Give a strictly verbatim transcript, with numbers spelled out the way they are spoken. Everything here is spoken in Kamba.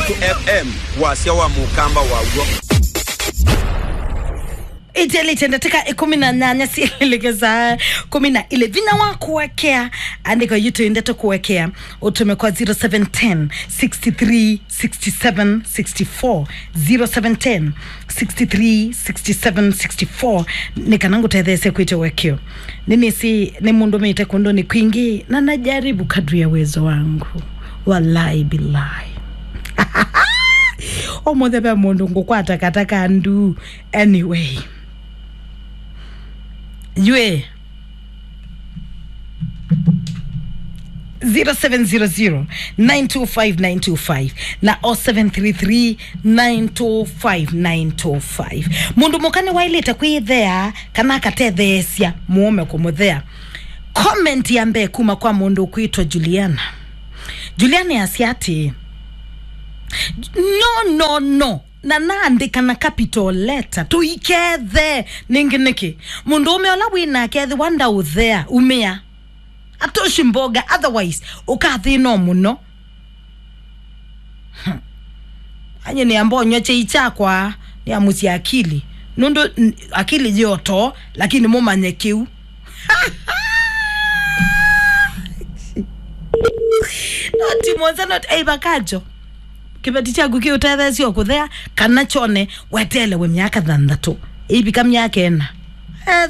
F M, wasya wa mũkamba waw'o. Itelĩte ndatĩka ĩkũmi na nyanya syĩlĩlĩke saa kũmi na ilĩ. Vinya wa kũekea, andĩko yitũ ndeto kũekea, ũtũme kwa zero seven ten, sixty three, sixty seven, sixty four, zero seven ten, sixty three, sixty seven, sixty four, nĩ kana ngũtetheesye kwĩtya ũekeo. Nĩnĩsĩ nĩ mũndũ mĩte kũndũ nĩ kwingĩ, na najaribu kadri ya uwezo wangu. Wallahi billahi. Ũmũthĩ ve mũndũ ngũkwata kata ka ndu. Anyway. Yue. Zero seven zero zero, nine two five, nine two five na oh seven three three, nine two five, nine two five. Mũndũ mũka nĩwaĩlĩte kwĩthea kana akatetheesya mũũme kũmũthea. Comment ya mbee kuma kwa mũndũ ũkwĩtwa Juliana. Juliana asya atĩĩ, "No, no, no." Na naandĩka na capital letter, "Tũikethe." Nĩngĩ nĩkĩ? Mũndũũme ũla wĩ nake ethĩwa ndaũthea, umĩa. Atoshi mboga, otherwise, ũkathĩna mũno. Hmm. Anye nĩamba ũnywa chai chakwa, nĩamusya akili. Nũndũ n-, akili yoto, lakini mũmanye kĩu. No, ti Monza, not, ei, Bakajo. Kĩveti kyaku kĩũtetheesya kũthea, kana kyone weteelewe myaka thanthatũ. Ĩivika myaka ĩna. Ethe